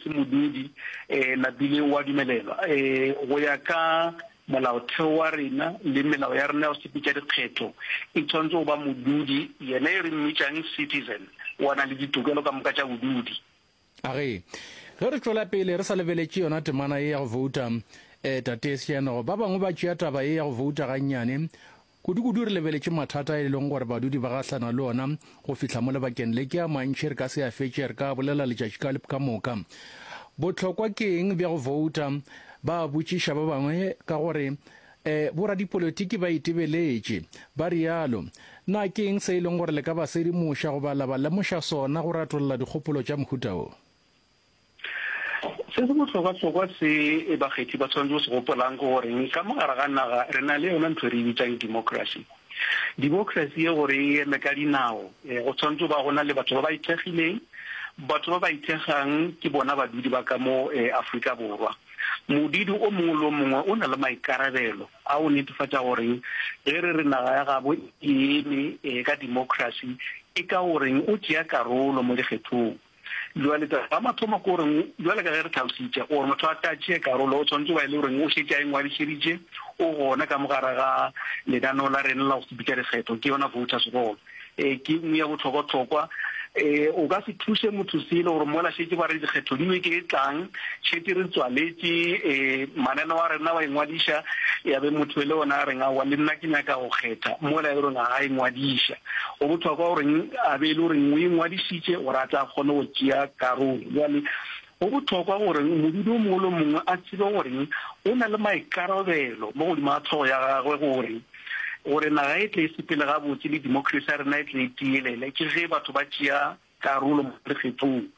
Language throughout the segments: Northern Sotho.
se modudi, napile o a dumelelwa. Go ya ka molaotheo wa rena le melao ya rena ya go sepetša dikgetho, e tshwanetse go ba modudi, yena e re mmitšang citizen, wa na le ditokelo ka moka tša bodudi. A re, Ge re tšwela pele re sa lebeletše yona temana ye ya go vouta, eh, Tate Seanogo, ba bangwe ba tšea taba ye ya go vouta gannyane, kudu-kudu re lebeletše mathata e leng gore badudi ba gahlana le ona go fihla mo lebakeng le. Ke a mantši, re ka se a fetše, re ka a bolela letšatši ka, ka moka. Bohlokwa ke eng bja go vouta? Ba a botšiša ba bangwe, ka gore E, boradipolotiki ba itebeletše, ba realo. Na ke eng se e leng gore le ka ba sedimoša goba la ba lemoša sona go ratolla dikgopolo tša mohuta wo? Se se bohlokwahlokwa se bakgethi ba swanetše go se gopolang ke gore ka mo gare ga naga re na le yona ntho e re e bitsang democracy. Democracy ye gore e eme ka dinao, go swanetše go ba go na le batho ba ba ithekgileng. Batho ba ba ithekgang ke bona badudi ba ka mo Afrika Borwa. Modidi o mongwe le o mongwe o na le maikarabelo a go netefatša gore ge re re naga ya gabo e eme ka democracy e ka goreng o tšea karolo mo dikgethong. Bjale taba ya mathomo ke gore bjale ka ge re tlhalositše gore motho a ka tšee karolo o tshwanetse ba e le goreng o šetše a ingwadišeditše o gona ka mo gare ga lenaneo la rena la go sepetša dikgetho ke yona voters roll. E, ke nngwe ya bohlokwahlokwa. E, o ka se thuše motho selo gore mola šetše ba re dikgetho di beke e tlang, šetše re tswaletše e, mananeo a rena wa ingwadiša, ya be motho e le ona a reng aowa le nna ke nyaka go kgetha, mola e le goreng ga a ingwadiša. Go bohlokwa goreng a be e le goreng o ingwadišitše gore a tle a kgone go tšea karolo. Bjale go bohlokwa gore modudi o mongwe le o mongwe a tsebe goreng o na le maikarabelo mo godimo ga hlogo ya gagwe gore Gore naga e tle e sepele gabotse le democracy ya rena e tle e tielele, ke ge batho ba tšea karolo mo dikgethong.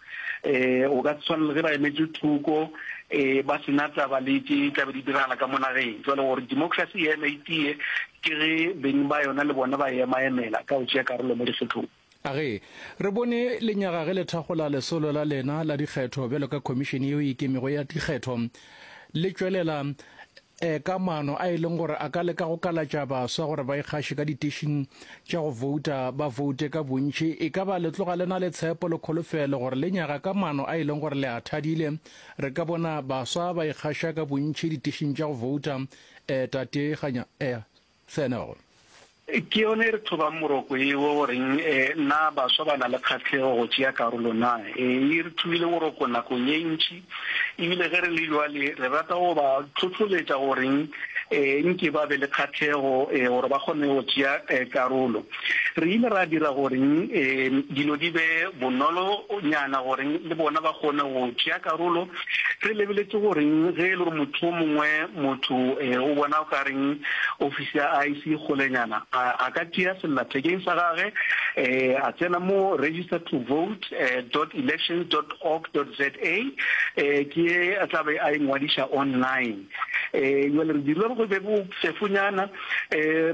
Um o ka se tshwane le ge ba emetše thoko um ba se na taba le tše tla be di diragala ka mo nageng. Jwale gore democracy e eme e tie, ke ge beng ba yona le bona ba e emaemela ka go tšea karolo mo dikgethong. A Ge re bone lenyaga ge le thakgola lesolo la lena la dikgetho bjalo ka Khomišene yeo e Ikemego ya Dikgetho, le tšwelela e ka maano a e leng gore a ka leka go kalatša baswa gore ba ikgaše ka ditešing tša go vouta, ba voute ka bontši, e ka ba le tloga le na le tshepo le kholofelo gore lenyaga ka maano a e leng gore le a thadile, re ka bona baswa ba ikgaša ka bontši ditešing tša go vouta? E, Tate Kganya, e, Senego. Ke yona e re thobang moroko eo goreng na baswa ba na le kgahlego go tšea karolo na. E re thobile boroko nakong ye ntši, ebile ge re le bjale re rata go ba hlohloletša goreng nke ba be le kgahlego gore ba kgone go tšea karolo. Re ile ra dira goreng dilo di be bonolonyana goreng le bona ba kgone go tšea karolo. Re lebeletše goreng ge e le gore motho o mongwe motho o bona o ka reng ofisi ya IEC e kgolenyana, a ka tšea sellathekeng sa gage a tsena mo register to vote dot elections dot org dot za ke ye a tla be a ingwadiša online. Jwale re dirile gore go be bofefonyana.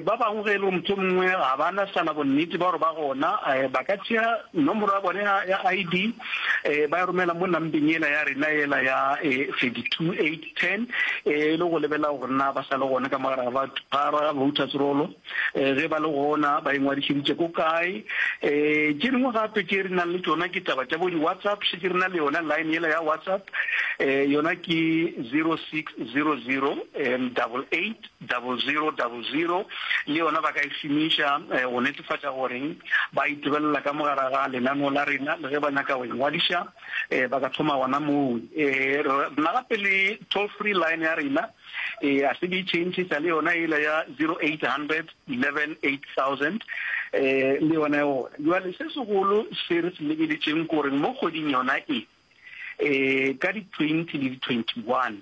Ba bangwe ge e le gore motho o mongwe ga ba na sana bonnete ba gore ba gona, ba ka tšea nomoro ya bone ya ID ba e romela mo nambeng yela ya rena yela ya 32810 e le go lebelela gore na ba sa le gona ka mo gare ga voters roll. Ge ba le gona ba ingwadišeditše ko kae. Tše dingwe gape tše re nang le tšona ke taba tša bo di-WhatsApp, šetše re na le yona line yela ya WhatsApp, yona ke 0600 88 0000 le yona ba ka e šomiša go netefatša gore ba itebelela ka mo gare ga lenaneo la rena le ge ba nyaka go ingwadiša ba ka thoma gona moo. Re na gape le toll free line ya rena a se be change sa le yona ela ya 0800 11 8000 le yona e gona. Jwale se segolo se re se lebeletšeng ke gore mo kgweding yona e E, ka di 20 le di 21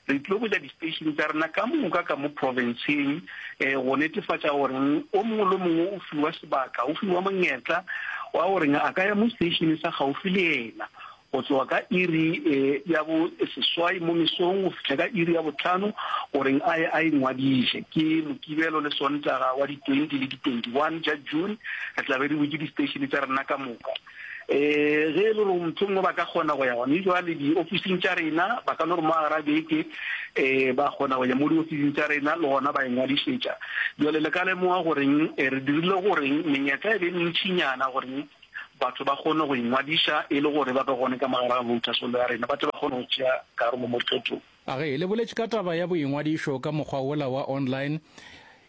re tlo bula di-station tša rena ka moka ka mo provinceng e, go netefatša gore o mongwe le mongwe o fiwa sebaka, o fiwa monyetla wa gore a ka ya mo station sa gaufi le yena go tloga ka iri e, ya bo seswai mo mesong go fihla ka iri ya botlhano gore a ye a ingwadiše. Ke Mokibelo le Sontaga wa di 20 le di 21 tša June re tla be re butše di-station tša rena ka moka. Ee, ge e le gore motho mongwe ba ka kgona go ya gone jwale diofising tša rena, ba ka no re mo gare ga beke um ba kgona go ya mo diofising tša rena le gona ba ingwadišetša. Jwale le ka lemoga goreng re dirile goreng menyetla e be mentšinyana goreng. batho ba kgone go ingwadiša e le gore ba be gone ka mogare ga voters roll ya rena, ba tle ba kgone go tšea karolo mo dikgethong. A Ge le boletše ka taba ya boingwadišo ka mokgwa wola wa online,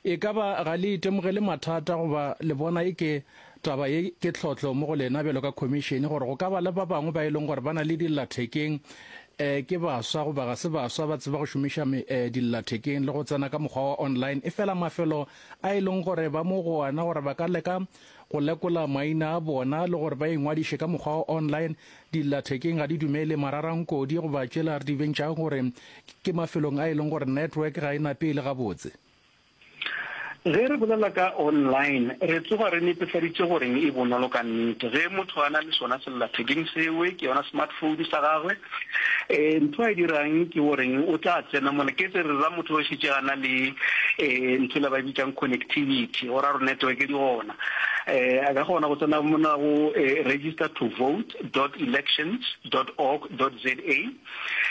e ka ba ga le itemogele mathata goba le bona eke taba ye ke tlhohlo mo go lena bjalo ka khomišene gore go ka ba le ba bangwe ba e leng gore ba na le dillathekeng, eh, ke baswa goba ga se baswa ba tseba go šomiša eh, dillathekeng le go tsena ka mokgwa wa online, efela mafelo a e leng gore ba mo go ona gore ba ka leka go lekola maina a bona le gore ba ingwadiše ka mokgwa wa online dillathekeng ga di dumele mararankodi goba tšela re di bentšago gore ke mafelong a e leng gore network ga e nape e le gabotse. Ge re bolela ka online, re tsoga re netefaditše goreng e bonolo ka nnete. Ge motho a na le sona sellathekeng sewe, ke yona smartphone sa gagwe, um ntho a e dirang ke goreng o tla tsena mola. Ke se re ra motho o šetše a na le um ntho ela ba e bitsang connectivity, go ra gore network di gona. Um a ka kgona go tsena mona go register to vote dot elections dot org dot za.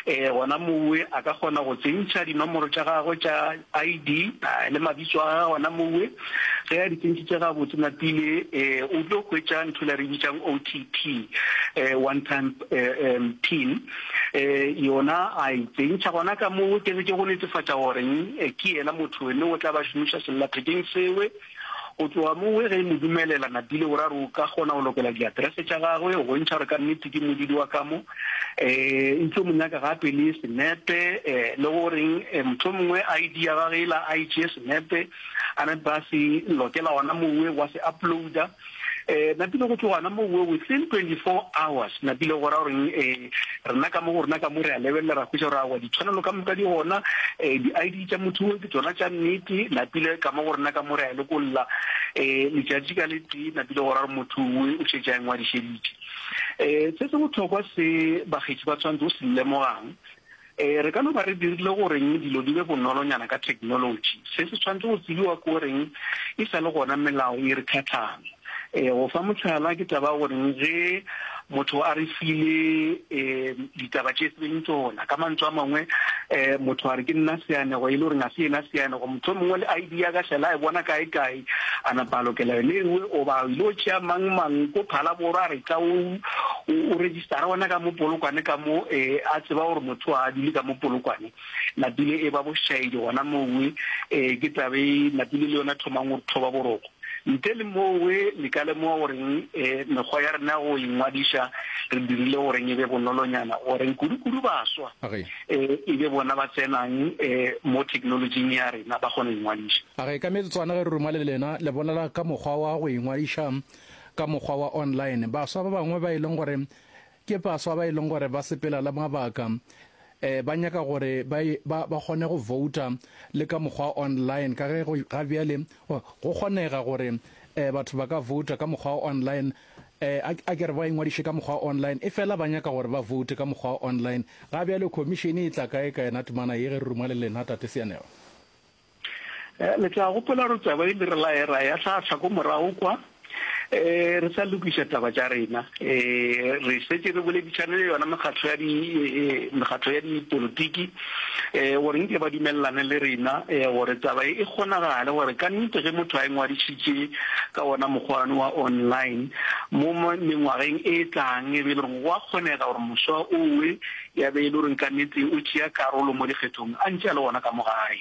Ee, gona mowe a ka kgona go tsentšha dinomoro tša gagwe tša ID le mabitso a gagwe gona mowe. Ge a di tsentšhitše gabotse napile, o tlo hwetša ntho la re bitsang OTP, one time pin. Yona a e tsentšha gona ka mowe, ke ke go netefatša gore ke yena motho ene o tla ba šomiša sellathekeng sewe. Go tloga moo ge e mo dumelela, Napile o ra re o ka kgona go lokela diaterese tša gagwe go bontšha gore ka nnete ke modudi wa ka mo. E tlo mo nyaka gape le senepe le goreng mohlomongwe ID ya gagwe yela a e tšee senepe a nape a se lokela gona mowe wa se uploader. Napile go tloga gona mowe within 24 hours napile go ra goreng rena ka mo go rena ka mo re a lebelela ra hwetša gore aowa ditshwanelo ka moka di gona, di-I_D tša motho o ke tšona tša nnete, napile ka mo go rena ka mo re a lekolla letšatši ka le tee napile go ra gore motho o o šetše a ingwadišeditše. Se se bohlokwa se bakgethi ba tshwanetse go se lemogang, Re ka no ba re dirile goreng dilo di be bonolonyana ka theknolotši. Se se tshwanetse go tsebiwa ke goreng e sa le gona melao e re tlhatlhang. Go fa mohlala, ke taba ya goreng ge motho a re file ditaba tše e seng tšona, ka mantswe a mangwe motho a re ke nna seanego e le goreng ga se yena seanego, mohlomongwe le ID ya ka šala a e bona kae kae, a napa a lokela yone ewe, goba o ile go tšea mang mang ko Phalaborwa a re tla o o registara gona ka mo Polokwane ka mo a tseba gore motho a dule ka mo Polokwane, napile e ba bošaedi gona mowe, ke taba e napile le yona thomang go re thoba boroko. Ntle le mowe le ka lemoga goreng mekgwa ya rena go ingwadiša re dirile goreng e be bonolonyana goreng kudu-kudu baswa e be bona ba tsenang mo theknolotšing ya rena ba kgone go ingwadiša. A re, Ka metsotswana ge re ruma le lena, le bolela ka mokgwa wa go ingwadiša ka mokgwa wa online. Baswa ba bangwe ba e leng gore ke baswa ba e leng gore ba sepela le mabaka, ba nyaka gore ba, ba, ba kgone go vouta le ka mokgwa wa online ka ge go, ga bjale go kgonega gore batho ba ka vouta ka mokgwa wa online. A, a ke re ba ingwadiše ka mokgwa wa online, efela ba nyaka gore ba voute ka mokgwa wa online. Ga bjale khomišene e tla kae ka yona temana ye ge re ruma le lena, Tate Seanego? Le tla gopola gore taba e le re la ra ya hlahla ko morago kwa, re sa lokiša taba tša rena. Re šetše re boledišane le yona mekgatlo ya di, mekgatlo ya dipolotiki gore nke ba dumelelane le rena gore taba e e kgonagale gore ka nnete ge motho a ingwadišitše ka wona mokgwa one wa online mo mengwageng e tlang e be e le gore go a kgonega gore moswa owe ya be e le gore ka nnete o tšea karolo mo dikgethong a ntše a le gona ka mo gae.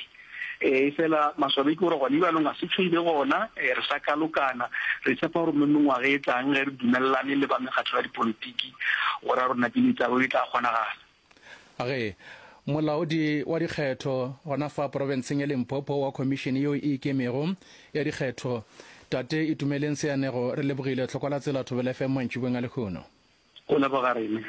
Efela maswabi ke gore gone bjalong ga se tšho e be gona, re sa kalokana. Re tshepa gore mo mengwaga e tlang ge re dumelelane le ba mekgatlo ya dipolotiki gore a rona pele taba e tla kgonagala. Ge molaodi wa dikgetho gona fa profenseng ya Limpopo wa khomišene yeo e ikemego ya dikgetho, Tate Itumeleng Seanego, re lebogile. Tlhokwalatsela Thobela FM mantšiboeng a lehono. Go leboga rena.